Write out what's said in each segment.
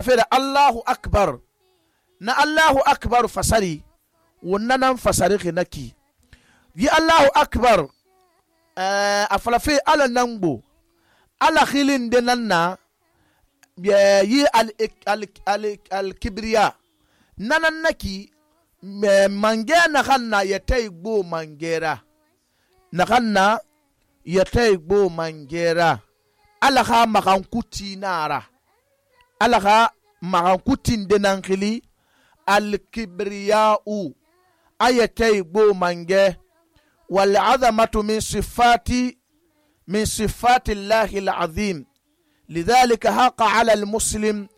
fere Allahu akbar na Allahu akbar fasari wannan fasari kinaki yi Allahu akbar a falafe ala nango ala khilin de nanna yi al kibriya nanan naki mange na khanna yatay gbo mangera na khanna yatay gbo mangera ala kha makan kuti nara ala kha makan kutin de nan khili al kibriya u ayatay gbo mange wal azamatu min sifati Allah al azim لذلك حق على المسلم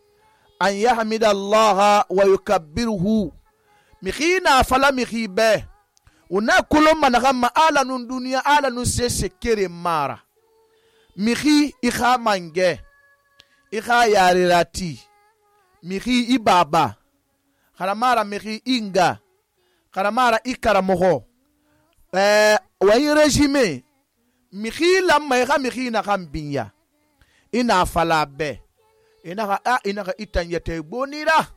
أن يحمد الله ويكبره مخينا فلا مخيبه ونأكل من غم آلا نون دنيا آلا نون سيسكري مارا مخي إخا منجه إخا ياريراتي مخي إبابا خرمارا مخي إنغا خرمارا إكرمه وين رجيمي مخي لما إخا مخي نغم بنيا ina fala be ina itan yete bonira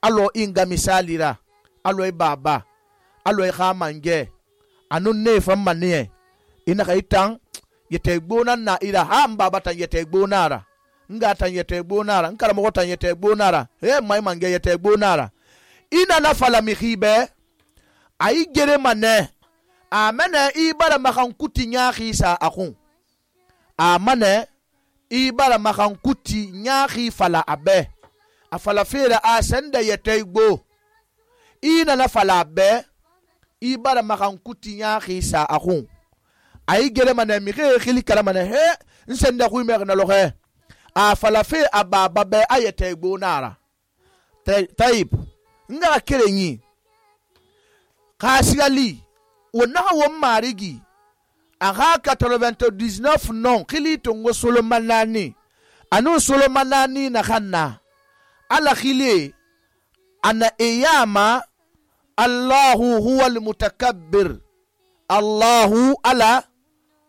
alo inga misalira alo baba alo khamange anun ne famane ina itan yete bonan na ira ham baba tan yete bonara nga tan yete bonara nkara mo tan yete bonara mai mange yete bonara ina na fala mihibe ai gere mane amana ibara makan kutinya khisa akun amane ibara makan kuti nyaahi fala abe afala fere a senda yete gbo ina na fala abe ibara makan kuti nyaahi sa akun ay gere mane mi khili kala mane he nsenda ku mer na lohe a fala fe ababa be ayete gbo nara taib nga kerenyi kasigali wona wo marigi aga 99 non khili tongo solomanani anu solomanani na khanna ala khili ana iyama Allahu huwa almutakabbir Allahu ala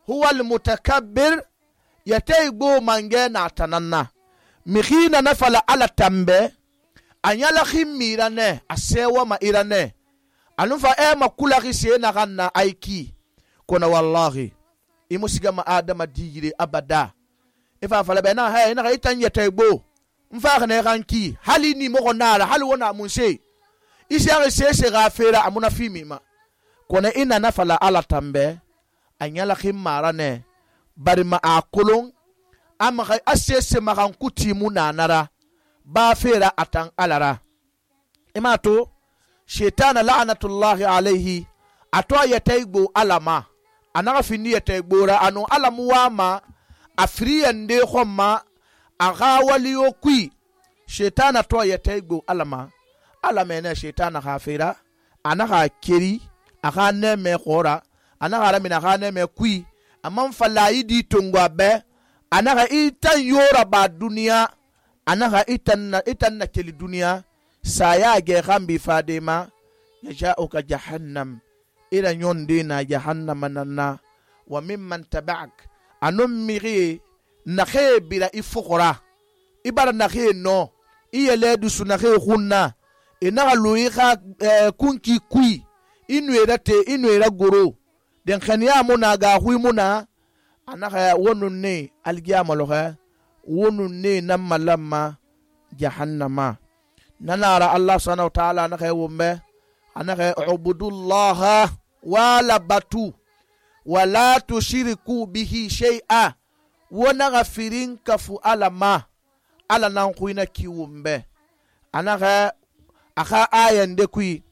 huwa almutakabbir yataybo mange na tananna mikhina nafala ala tambe anyala khimirane asewa ma irane anufa makula khise na khanna aiki kona wallahi imusiga ma adama digire abada ifa fala bena ha ina itan yetaybo mfa khane kanki hali ni mo nara hali wona munse isiare sese gafera amuna fimima kona ina nafala ala tambe anyala khimara ne bari ma akulun ama khay asese makan kuti munanara ba fera atan alara imato shaytan la'natullahi alayhi atwa yetaybo alama anaga fini yete gbora anu alamu wama afriyande khoma aga waliyo kui shetana to yete gbo alama ne shetana khafira anaga keri aga neme khora anaga ramina aga neme kui amman falayidi tongwa be anaga itan yora ba duniya anaga itan na keli duniya saya ge khambi fadema yaja'uka jahannam ila nyonde na jahannama nanna wa mimman taba'ak anum miri nakhe bila ifukura ibara nakhe no iyele dusu nakhe khunna ina lui kha kunki kui inwera goro den khaniya muna ga hui muna anaka wonun ne algiyama loha wonun ne namma lamma jahannama nanara Allah subhanahu wa ta'ala nakhe wumbe anaka ubudullaha wala batu wala tushiriku bihi shay'a wona gafirin kafu alama ala nan kuina kiwumbe anaka aka ayan de kui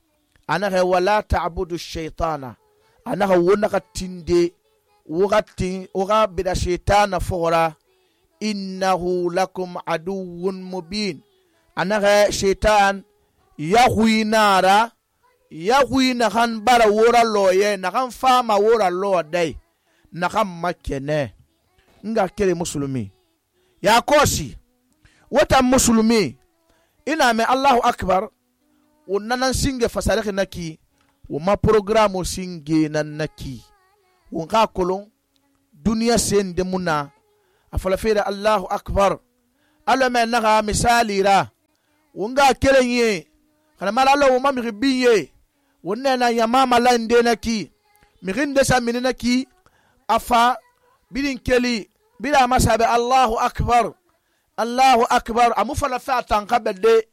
anaka wala ta'budu shaytana anaka wona katinde wogati oga bida shaytana fora innahu lakum aduwwun mubin anaka shaytan yahuinara yahui na kan bara wora loye na kan fama wora lo dai na kan makene nga kere musulmi ya kosi wata musulmi ina me Allahu akbar unanan singe fasareke naki wo ma programo singe nan naki wo ka kolon duniya sende muna afala fere Allahu akbar alama naga misali ra wonga kerenye kana malalo wo mamiri biye wonne na yama malande na ki mirinde sa minina ki afa bidin keli bila masabe Allahu akbar amu fala fe atanka bede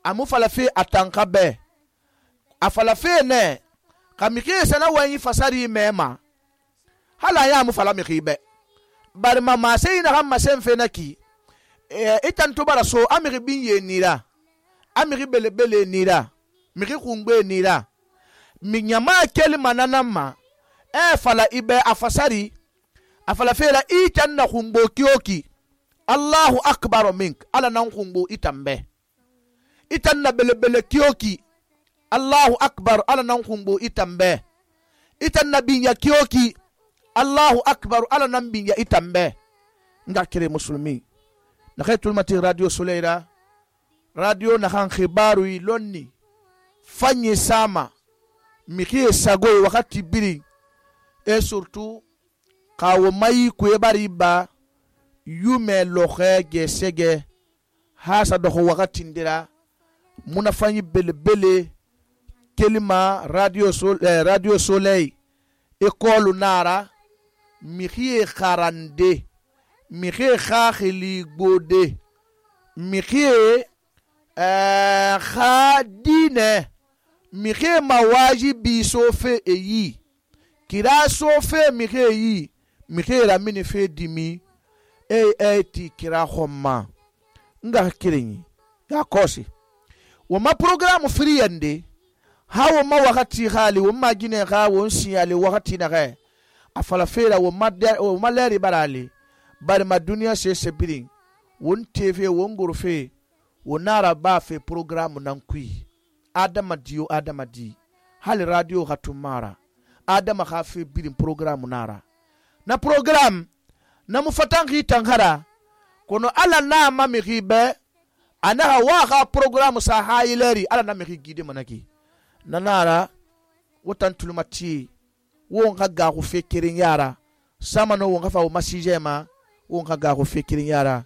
amu fala fe atanka be afala fe ne kamike sana wani fasari mema hala ya amu fala mikibe bari mama sai na hamma sen fe naki itan to bara so amiri binye nira amiri bele nira miri kungbe nira minyama keli mananama fala ibe afasari afala fela itan na kungbo kioki Allahu akbar mink ala nan kungbo itambe itan na bele kioki Allahu akbar ala nan kungbo itambe itan na binya kioki Allahu akbar ala nan binya itambe nga kire muslimi na khaytul mati radio Soleira radio na khan khibaru lonni fanyi sama miki sagoy wakati biri surtout kawo mai ku bari ba yume loxe gesege hasa do wakati ndira muna fanyi bele kelima radio Soleil école nara miki kharande miki khakhili gode miki khadine miki mawajibi sofe eyi kira sofe miki eyi miki ramini fe dimi ti kira khomma nga kirinyi ya kosi wama program free yande hawo ma wakati khali wama gine kha won siyale wakati na kha afala fera wama leri barali bari ma dunia se sebirin won tv won gurfe wonara ba fe program nan kui adama di hali radio hatumara adama kha fe birin program nara na program na mufatangi tangara kono ala na mami ribe anaha waha program sa haileri ala na miri gide manaki nanara wotan tulumati won ga go fekirin yara sama no won fa o masijema won ga go fekirin yara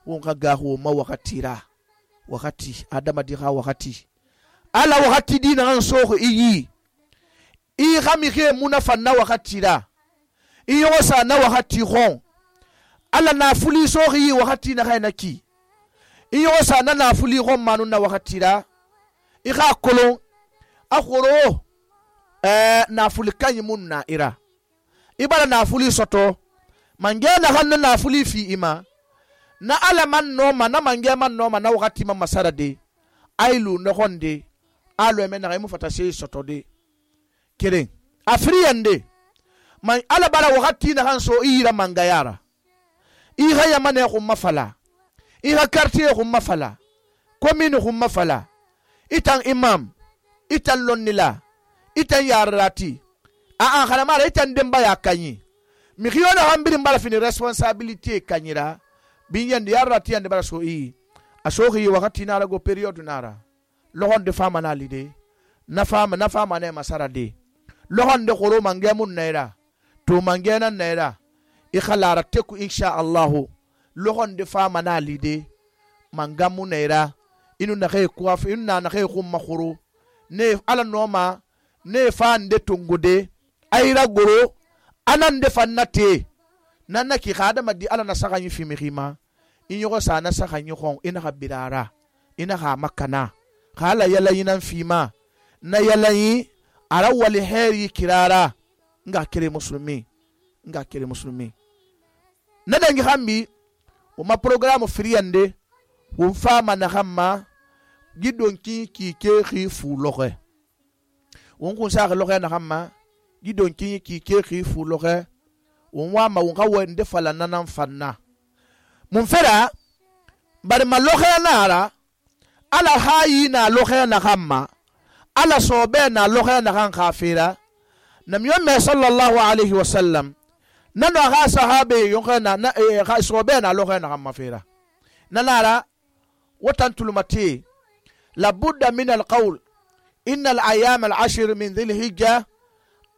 won ga go ma wakati adama di ha wakati ala wakati dina an soko iyi i khami khe munafa na wakati da iyo sa na wakati khon ala na fuli sokhi wakati na khainaki iyo sa na fuli khon manu na wakati da i kha kolon akhoro na fuli kanyi mun na ira ibara na fuli soto mangena hanna na fuli fi ima na ala man noma na mange man noma na wakati ma masara de ailu no honde alo eme na mu fata se soto de keren afriyande man ala bara wakati na hanso ira mangayara iha ya mane khum mafala iha quartier khum mafala commune khum mafala itan imam itan lonnila itan yarati a khala mara itan demba ya kanyi mi khiyona hambiri mbala fini responsabilité kanyira binyande yarati ande bara so asohi wakati na rago period nara lohon de fama na lide na fama ne masara de lohon de khoro mange mun naira to mange nan naira ikhalara teku insha Allah lohon de fama na lide mangamu naira inu na khay kuaf inu na khay khum makhuru ne ala noma ne fande tungude ayra goro anan de fannate nanna ki khadama di ala na saganyi fi mihima inyo sa na saganyi khon ina habirara ina ha makana khala yala yinan fima na yala yi ara wali heri kirara nga kire muslimi na dangi hambi uma programu friyande um fama na hamma gidon ki ke khifu loxe won kun sa loxe na hamma gidon ki ke khifu loxe won wa ma won ka wonde fala nanan fanna mun fera bar ma loxe nara ala hayi na loxe na hamma ala sobe na loxe na kan khafira nam yomme sallallahu alaihi wasallam nano ha sahabe yonkana na sobe na loxe na hamma fira nanara watan tulmati لابد من القول إن الأيام العشر من ذي الهجة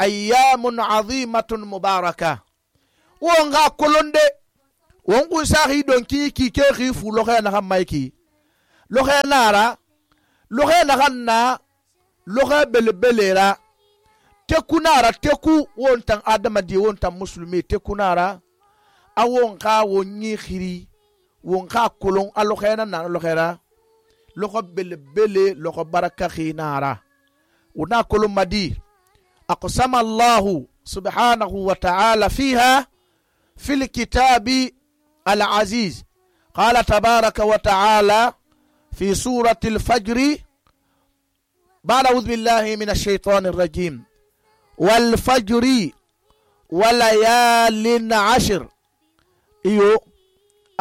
أيام عظيمة مباركة وانغا كولونde wongu sahi don ki ke khifu lo khana hammaiki loxe nara loxe naxan na loxe belebele ra teku nara teku won tan adamadi won tan musulmi teku nara a won xa won yi xiri won xa kolon a loxe na loxe ra loxo belebele loxo baraka xinara wona kolon madi aqsama Allahu subhanahu wa ta'ala fiha في الكتاب العزيز قال تبارك وتعالى في سورة الفجر بعد أعوذ بالله من الشيطان الرجيم والفجر وليال عشر إيو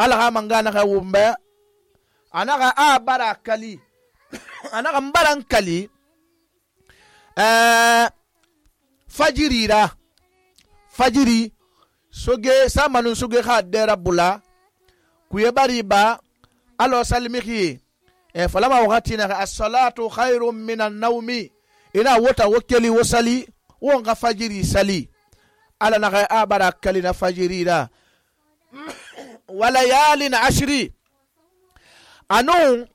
ألغا من غانا غومبا أنا غا آبارا كالي أنا غا مبارا كالي فجري را فجري soge samanun soge kha dera bula kuye bari ba alo salimihi falama wakati na as-salatu khairun minan nawmi ina wota wakeli wasali won ga fajiri sali ala na abara kalina fajiri da walayalin ashri anon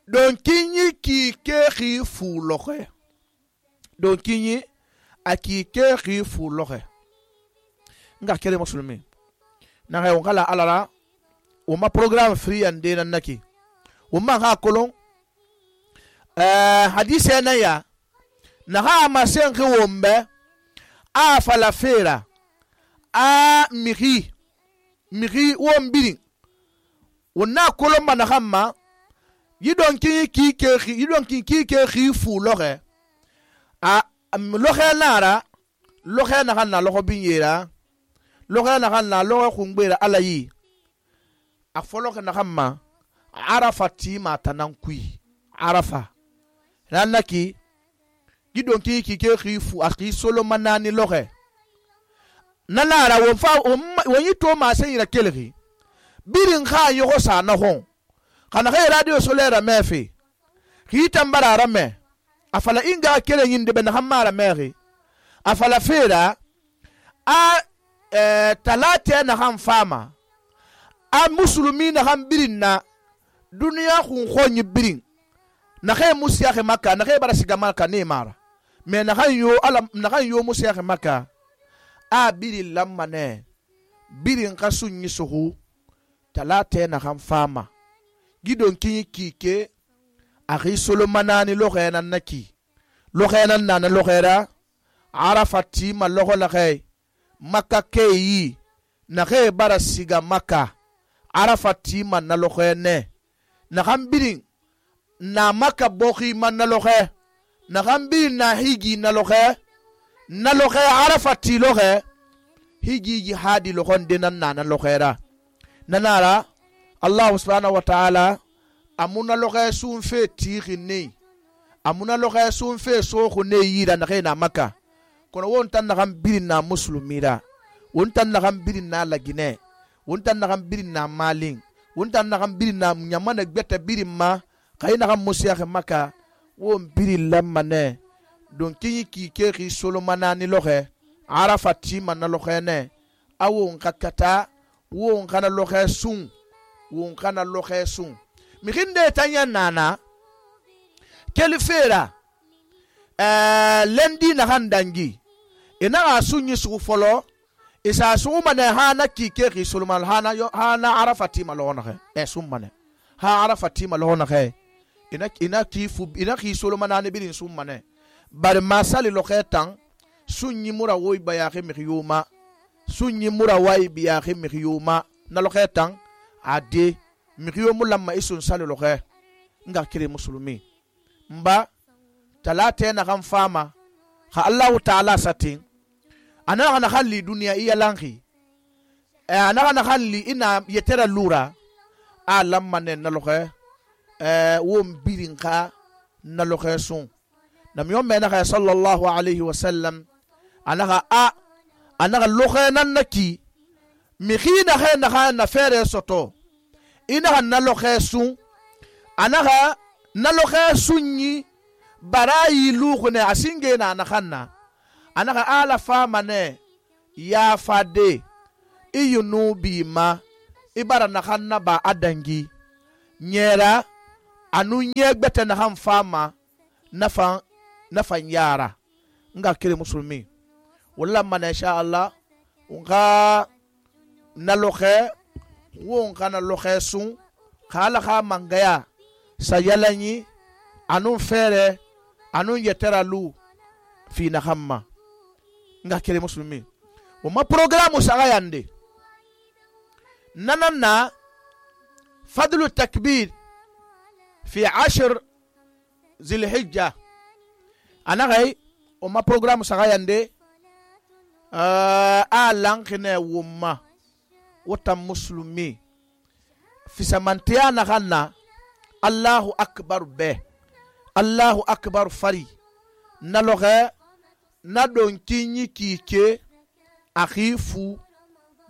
don kinyi ki ke fu loxe don kinyi aki ke fu loxe nga kere musulmi na hay wala alara o ma programme free ande nan naki o ma ha kolon hadise na ya na ha ma sen ke wombe a fala fera a miri wombiri wona kolon ma na hamma yidon ki ke fu loxe a loxe nara loxe na hanna loxo binyera loxe na hanna loxo khungbera alayi a foloxe na hamma arafa tima tanan kui arafa ranaki gidon ki ke khifu akhi solo manani loxe nanara won fa won yito ma sen ira kelri birin kha yo sa na hon kana khay radio solaire mefi ki tambara rame afala inga kele yinde ben hamara meri afala fera a talate na ham fama a musulmi na ham birin na duniya khun khonyi birin na khay musiyakh makka na khay barasiga makka ne mara me na khay yo alam na khay yo musiyakh makka a birin lamane birin kasunyi suhu talate na ham fama gidon kike akhi solomanani lokhenan naki lokhenan nana lokhera arafati ma lokho la khay makka keyi na khay barasiga makka arafati man na lokhene na hambirin na makka bokhi man na lokhe na hambirin na higi na lokhe arafati lokhe higi jihadi lokhon denan nana lokhera nanara Allah subhanahu wa ta'ala amuna lokhe sun fe tikhini amuna lokhe sun fe so khune yira na khina makka kono won tan na gambirin na muslimira won tan na gambirin na lagine won tan na gambirin na malin won tan na gambirin na nyamana gbeta birin ma khayna gam musiyakh makka won birin lamane don kinyi ki ke solomana ni lokhe arafati man na lokhe ne awon kakata won kana lokhe sun won kana lokhe sun mikinde tanya nana kelifera lendi na handangi ina asunyi su folo isa sumane hana kike sulman hana arafati malona he sumane ha arafati malona he ina kifu ina ki sulman ne bin sumane bar masali lokhetan sunyi mura woy bayaxe mikiyuma sunyi mura way biyaxe mikiyuma na lokhetan ade mikiyo mulamma isun sali lokhe nga kire muslimi mba talate na kan fama ha Allah ta'ala satin ana na khalli dunya iya lanki ana na khalli ina yetera lura alam manen na lokhe wom birinka na lokhe sun nam yom me na sallallahu alayhi wa sallam ana lokhe nan naki mi khina kha na fere soto ina na lokhe sun anaga na lokhe sunyi barayi lukhune asinge na khanna anaga ala fama ne ya fade iyunu bima ibara na khanna ba adangi nyera anu nye gbete na han fama nafan yara nga kire musulmi wala man insha Allah unga na lokhe won kana lokhe sun khala kha mangaya sayalanyi anun fere anun yetera lu fi na hamma nga kire musulmi o ma programu saga yande nanana fadlu takbir في 10 ذي الحجة أنا غاي وما برنامج سغايندي لانخنا وما وتم مسلمي في سمانتيا نغنى الله أكبر به الله أكبر فري نلغى ندون كيني كيكي أخيفو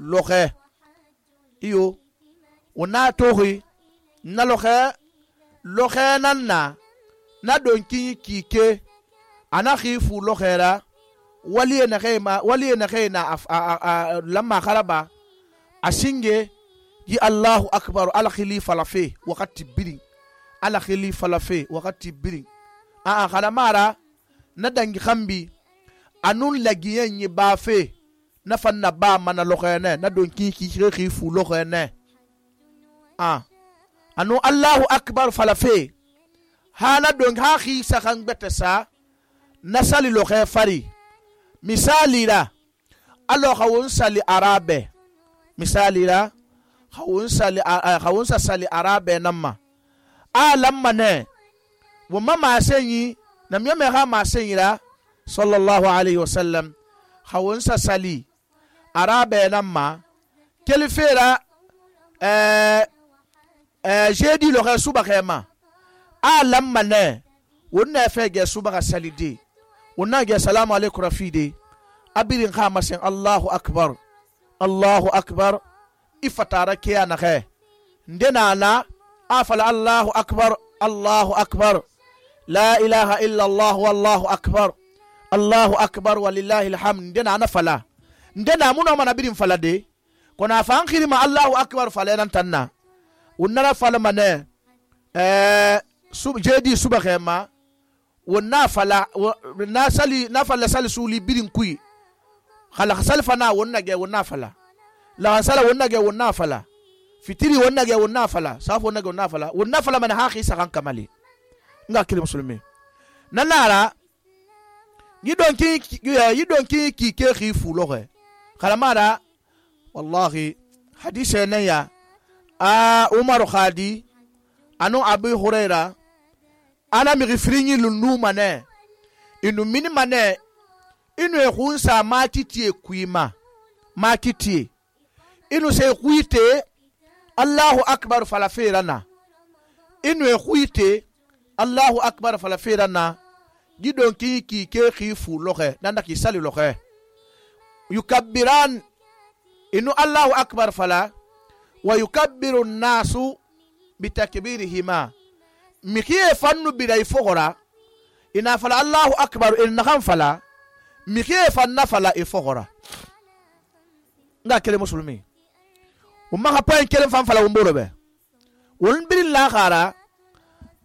لغى إيو وناتوغي نلغى lokhenan na donki kike ana khifu lokhera wali na khayna lamma kharaba asinge yi Allahu akbar ala khilifa lafi wakati birin ala khilifa lafi wakati birin khalamara na dangi khambi anun lagiyen yi bafe na fanna ba mana lokhene na donki kike khifu lokhene anu Allahu akbar falafe hala don ha khi sakan betesa nasali lo khafari misali la allo khawun sali arabe misali la khawun sali arabe namma lamma ne wa mama senyi nam yame ha ma senyi la sallallahu alaihi wasallam khawun sali arabe namma kelifera j'ai dit le rasuba khema lamma ne wonna fege suba salidi wonna ge salamu alaykum rafidi abirin khama sen Allahu akbar ifatara kiya na khe ndena na afala Allahu akbar la ilaha illa Allah wallahu akbar walillahi alhamd ndena na fala ndena muno mana birin falade kona fa khirima Allahu akbar falenan tanna wonnara fala mane jedi suba khema wonna fala na fala sali suli birin kui khala salfa na wonna ge wonna fala la sala wonna ge wonna fala fitiri wonna ge wonna fala safu wonna ge wonna fala man ha khisa kan kamali nga kile muslimi nanara yidon ki ke khifu lohe khala mara wallahi hadise ne ya Umar Khadi anu Abu Huraira ana mi gifrinyi lunu mane inu mini mane inu ehunsa matiti kuima matiti inu se kuite Allahu akbar falafirana inu ehuite Allahu akbar falafirana gidon ki ke khifu lohe nanda ki sali lohe yukabbiran inu Allahu akbar fala ويكبر الناس بتكبيرهما مكيه فنو بلاي فغرا إن فلا الله أكبر إن نخم فلا مكيه فن فلا إفغرا نا كلمة مسلمي وما هبين كلمة فن فلا ومبورة به ونبري الله خارا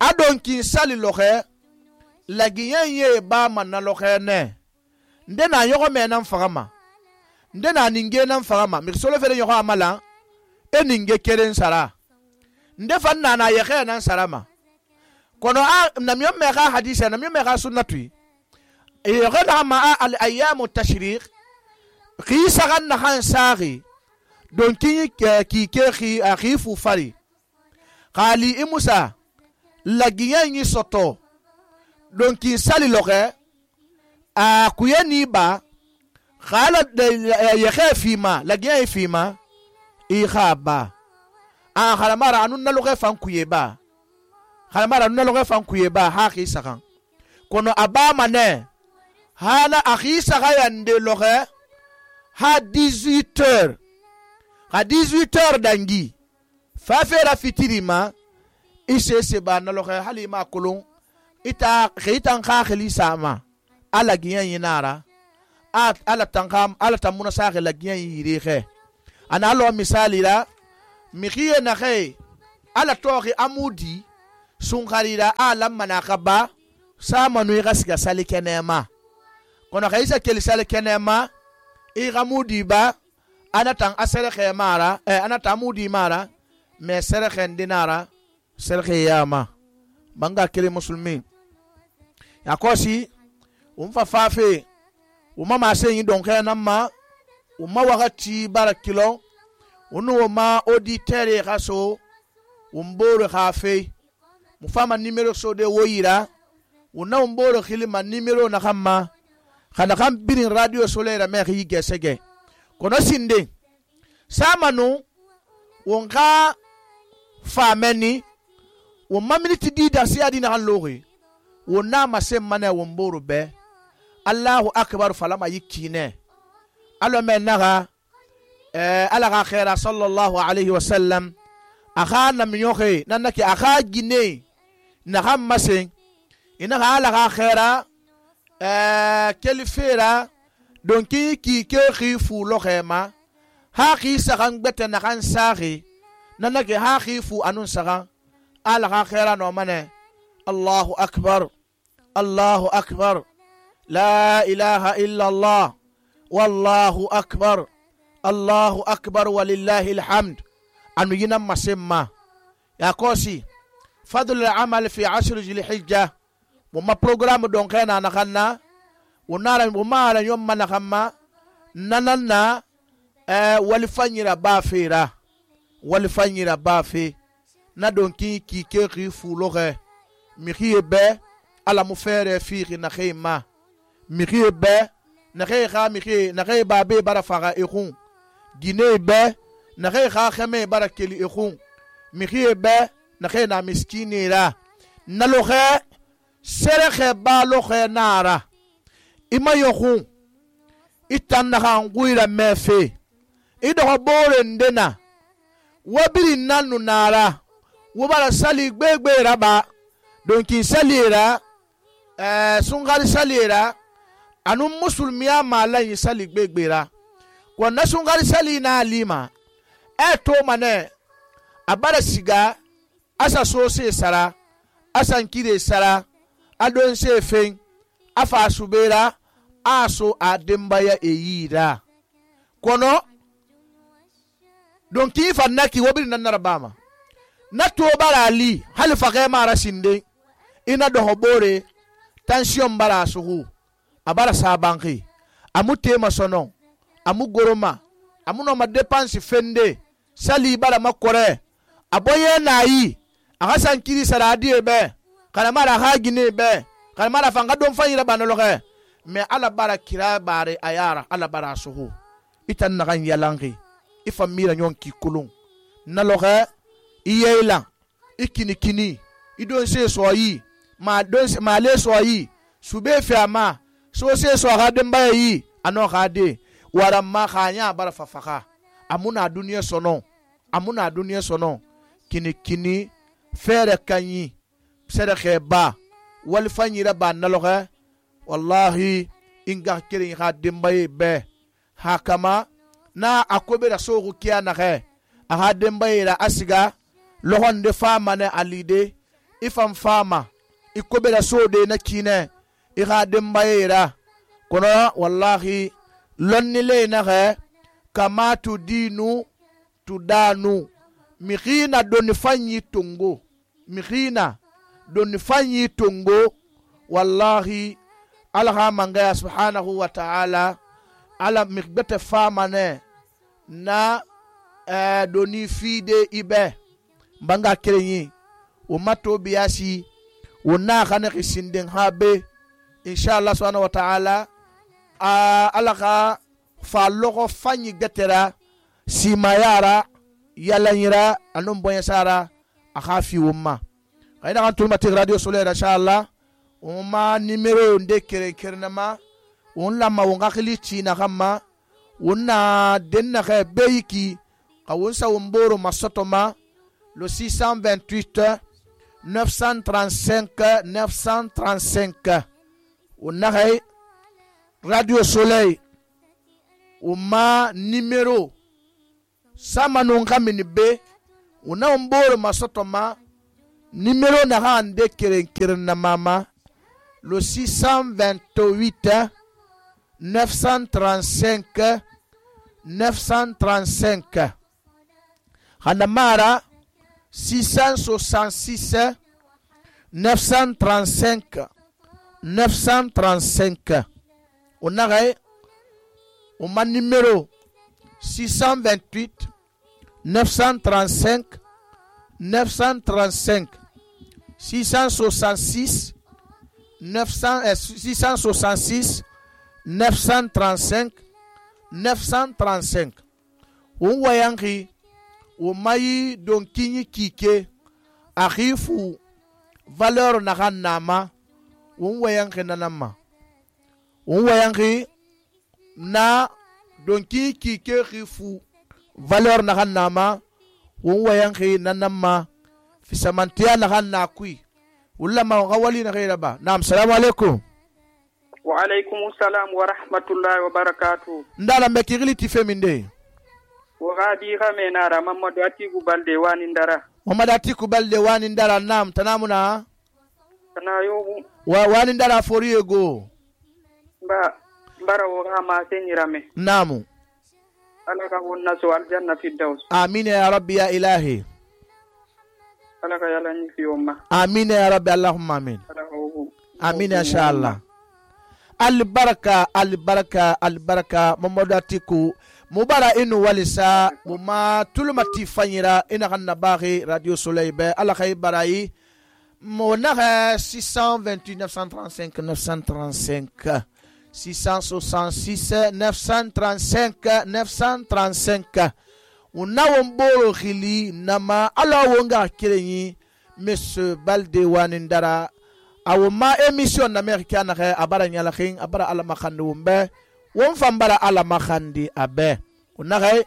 أدون كي سالي لوخي لجيان يبا من لوخي نه ndena yogo menan fagama ndena ninge nan fagama miksolo fere yogo amala eninge keren sara nde fanna na yekhe nan sarama kono namyo mega hadisa namyo mega sunnatui yegha ma al ayyam at-tashriq qisa ganna khan sari don ki ke akhifu fari qali imusa lagiyan yi soto don ki sali loge kuyeni ba khala yekhe fima lagiyan fima ikhaba khalamara anun naloge fankuyeba ha khisakan kono abama ne hana akhisa yande loge ha 18h dangi fa fera fitirima isese ba naloge halima kulun ita khitan khakhili sama ala giyan yinara ala tankam ala tamuna sa la giyan yirixe ana lo misali la mikhiye na khay ala toxi amudi sun kharira alam manaka ba samanu iga siga sali kenema kono kayisa keli sali kenema iga mudi ba anatan asere khemara anata mudi mara me sere khendinara sere khiyama banga kele muslimi yakosi umfa fafe umama senyi donke namma umma wakati barakilo unu ma auditeur khaso umboro khafe mufama numero so de woyira una umboro khilima numero na khamma khana kham birin radio solaire me khi gesege kono sinde samanu wonka fameni wo maminiti di da siadi na logi wona masemana womboro be Allahu akbar falama yikine alo menaga ala khaira sallallahu alayhi wa sallam akha na minyoke nanaki akha gine na hamase ina ala khaira kelifera donki ki khifu lo khema ha khi sagan bete na kan sari nanaki ha khifu anun sagan ala khaira no mane Allahu akbar la ilaha illa Allah wallahu akbar Allahu akbar walillahi alhamd anu yina masemma ya kosi fadl al-amal fi 10 Dhul-Hijjah mumma programme don kana na kanna wonara mumara yomma na khamma nananna walifanyira bafe na donki ki ke fuloge mi khibe ala mufere fi na khima mi khibe na kha mi khi na khay babe bara faga ikhun gine be na khay kha khame bara keli ikhun mi khibe na khay na miskini ra na lo khe sere khe ba lo khe nara ima yokhun itan na khan guira mefe ido bore ndena wabiri nanu nara wobara sali gbegbe raba donki salira sungari salira anu musulmiya malayi sali gbegbera ko na sungari sali na alima to mane abara siga asa so se sara asa nkire sara adon se fen afa subera aso adembaya eyira kono donc ki fannaki wobiri nan narabama na to bara ali hal faqe mara sinde ina do hobore tension bara suhu abara sabanki amu tema sono amu goroma amu no ma dépense fende sali bara makore aboye nayi aga sankiri saradi be kana mara hagine be kana mara fanga don fayira banologe me ala bara kira bare ayara ala bara suhu itan na kan yalangi ifamira nyonki kulun naloge iyela ikini idon se soyi ma le soyi sube fiama so se so ga demba yi ano ga de wara ma khanya bara fafaka amuna duniya sono kini fere kanyi sere kheba wal fanyira ba naloge wallahi inga kirin ga demba be hakama na akobe da sogu kiya na khe aha demba ira asiga lohon de fama ne alide ifam fama ikobe da sode na kine iha demba ira kono wallahi lonni le na khe kama tu dinu tudanu mikhina doni fanyi tungo wallahi alaha mangaya subhanahu wa ta'ala ala mikbete fama ne na doni fide ibe mbanga kerenyi umato biasi wona khana khisinden habe inshallah subhanahu wa ta'ala alaka fallogo fanyi gatera simayara yalanyira anum bonya sara akhafi umma kaina kan tulma tig radio solaire inshallah umma numero nde kerenama wonla wonga khilichi na khamma wonna denna khe beyiki kawunsa womboro masotoma le 628 935 wonna khay radio soleil umma numero sama non kamini be wonna womboro masotoma numéro naxa nde keren na mama le 628 935 935 xana mara 666 935 935 on naxay o ma numéro 628 935 935 666 935 935 on wayanki o mayi don kinyi kike akhifu valeur na ganama on wayanki nanama on wayanki na don kinyi kike khifu valeur na ganama on wayanki nanama fisamantiya na ganna kui ulama gawali na gaira ba. Naam, assalamu alaikum. Wa alaikum assalam wa rahmatullahi wa barakatuh. Ndala mekirili tifeminde. Wa gadi khamena Muhammadu Atiku Balde wani ndara. Muhammadu Atiku Balde wani ndara. Naam, tanamuna. Tanayo. Wani ndara foriego. Mbara wa ma senyirame. Naamu. Alaka wonna so aljanna firdaus. Amin ya rabbi ya ilahi. Alaka yala ni fi umma. Amin ya rabbi, Allahumma amin. Amin ya inshallah. Albaraka albaraka albaraka Muhammadu Atiku mubara inu walisa muma tulumati fanyira ina kanna baghi Radio Soleil be ala khay barayi monaga 628 935 935 666 935 935 unawon boro khili nama ala wonga kirenyi Monsieur Balde wanindara awuma émission américaine re abara nyala khin abara ala makhandi umbe won fambara ala makhandi abe unaga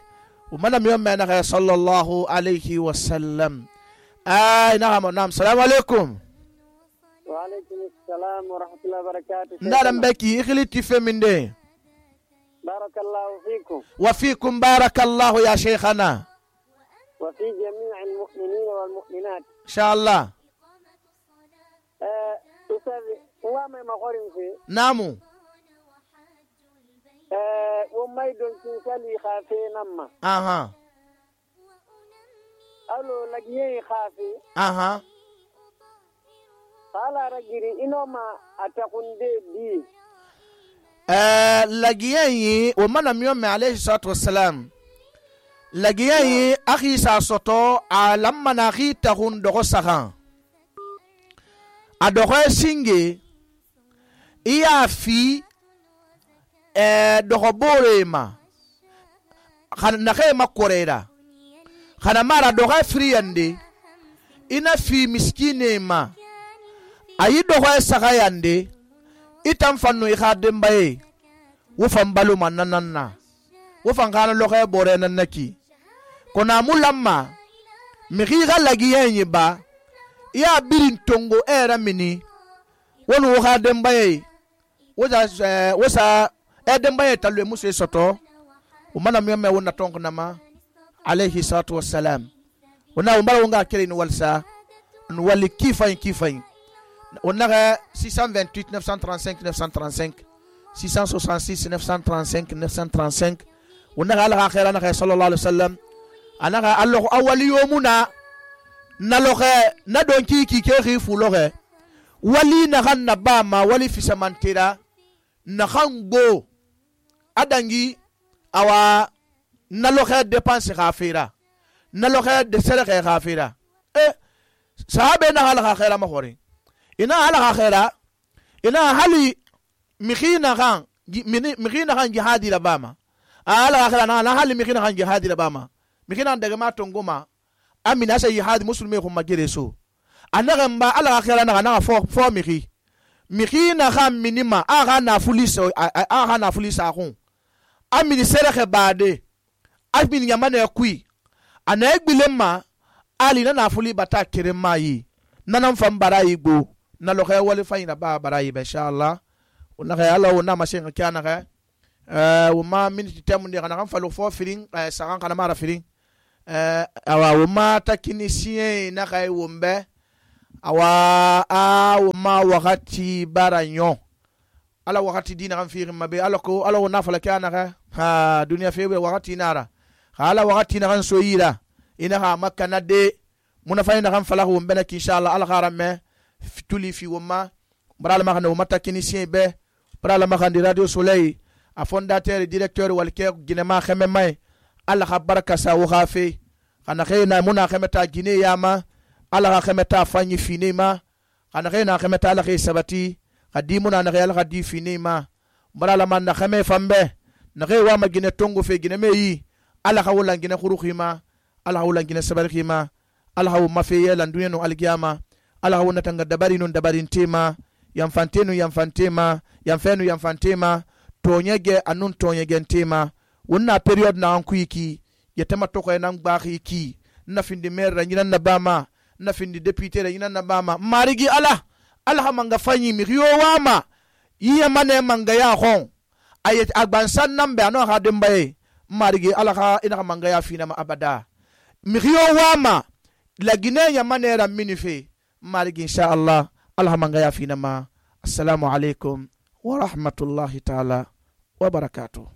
umana miyoma na sallallahu alayhi wasallam naam assalamu alaikum. Wa alaikum assalam wa rahmatullahi wa barakatuh. Ndaram beki ikhliti feminde. Barakallahu fikum. Wa fikum barakallahu ya shaykhana. Wa fi jami'il mu'minin wal mu'minat. Inshallah. Ustazi, uwame makorin fi. Namu. Wamai don kinsali khafi namma. Aha. Alo lagiye khafi. Aha. Kala ragiri inoma atakunde di. Lagiye o mana miyome alayhi salatu wassalam. Lagiye akhi sa soto alamma na khi tahun dogo sagan. Adore singe iya fi dohobore ma khana khema korera khana mara doha friande ina fi miskine ma ayi doha sagayande itam fanno i khadem baye wo fambalu mananna wo fangana lohe bore nanaki kona mulamma mi khiga lagiyenyi ba ya birin tongo era mini wonu wo khadem baye wosa edem baye talwe musu soto umana miyome wona tongo nama alayhi salatu wassalam wona umbara wonga kele ni walsa wali kifain onaga 628 935 935 666 935 935 onaga ala khaira na sallallahu alaihi wasallam anaga allahu awali yomuna naloge na donki ki ke khifu loge wali na ganna bama wali fisamantira na khango adangi awa naloge dépense khafira naloge de sere khafira sahabe na ala khaira ma khori ina ala khaira ina hali mikhina khan jihadi la bama ala khaira na hali mikhina khan jihadi la bama mikhina daga ma tongoma amina sa jihad muslimi ko magere so anaga mba ala khaira na fo mikhina khan minima aga na fulisa khon amini sere khe bade amini yamane kui ana egbilema ali na fuli bata kerema yi nanam fam barayi go na lo khay wali fayna ba barayi be inshallah ona khay ala ona mashen kana khay ma minute temunde kana kan falo fo firing sagan kana mara firing awa ma takinisien na khay wombe awa ma wakati baranyo ala wakati dina kan firin mabe ala ko ala wona fala kana ka ha duniya febe wakati nara ala wakati na kan soyira ina ha makka na de muna fayna kan fala ko mbena inshallah ala kharame tuli fi woma brala ma kan o mata kinisien be brala ma kan di radio soleil a fondateur directeur walke ginema khame mai ala ka baraka sa wo khafe kana khayna muna khameta gine yama ala ka khameta fanyi finema kana khayna khameta ala khay sabati kadimuna na khayal khadi finema brala man na khame fambe na khay wa magine tongo fe gine meyi ala ka wala gine khurukhima ala ka wala gine sabarkhima ala ka mafiye lan dunya no alkiyama ala ka wona tanga dabari non dabarin tema yamfantenu yamfantema tonyege anun tonyege ntema wonna period na anku iki yetema toko nan gbaxi ki na findi maire ra nyina na bama na findi député ra nyina na bama marigi ala manga fanyi mi riyo wama yiye mane manga ya khon ayet agbansan nambe ano ha dembaye marigi ala ha ina manga ya fina ma abada mi riyo wama la Guinée ya mane ra minife marigi insha Allah ala manga ya fina ma. Assalamu alaikum wa rahmatullahi ta'ala wa barakatuh.